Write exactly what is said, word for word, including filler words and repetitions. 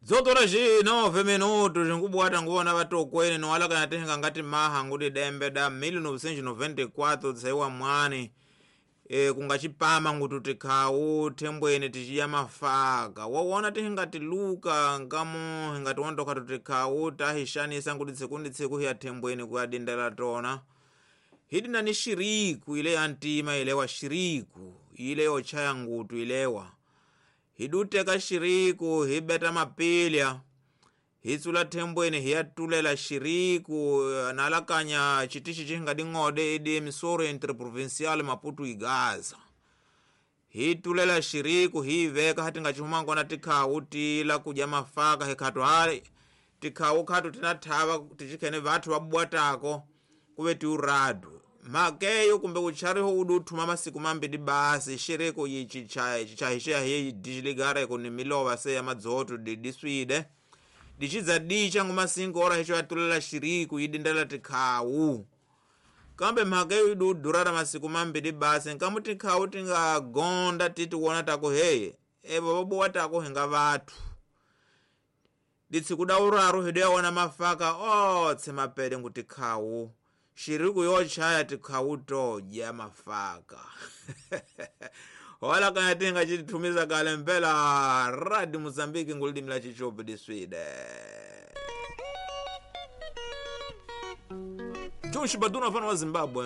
Dzotora xi nove minutos nkubwata nguwona vatokweni nowalakana tihinga ngati maha nguti dembe da mil novecentos noventa e quatro tsaiwa mwani e, kungachipama nguti tikhawu thembweni tichiya mafaka wowona tihinga tiluka nkamu hingatiwondoka tutikhawu tahixanisa nguti tsiku ndi tsiku hiya thembweni kuyadindela tona hidina ni xiriku ile ya ntima ilewa xiriku ile yochaya ngutu ilewa hiduteka xiriku hibeta mapilya hitsula thembweni hiyatulela xiriku nalakanya chitichi chihingading'ode idi emissora interprovincial Maputo Igaza hitulela xiriku hiiveka hatingachihuma ngona tikhawu tila kudya mafaka hikhatu hai tikhawu khatu tina thava tichikhene vathu vabwatako kuve tiuradu makeyo kumbe uchariho uduthuma masiku mambiri basi xiriku yichi chahixiya hiyi dijiligara ni milova se ya madzoto didiswide dichidza dicha ngumasingo ora hicho yatulela xiriku yidindela tikhawu kambe mhaka iyo idudurara masiku mambiri basi nkamu tikhawu tingagonda titi wona tako hey evo vabuwa tako hinga vathu ditsiku da uraru hidu yawona mafaka otse mapele ngu tikhawu xiriku yochaya tikhawu todya mafaka wala kana tinga chitithumiza kale mpela Radio Mozambique ngulidimi la chichopi diswide Josh Baduna fana wa Zimbabwe.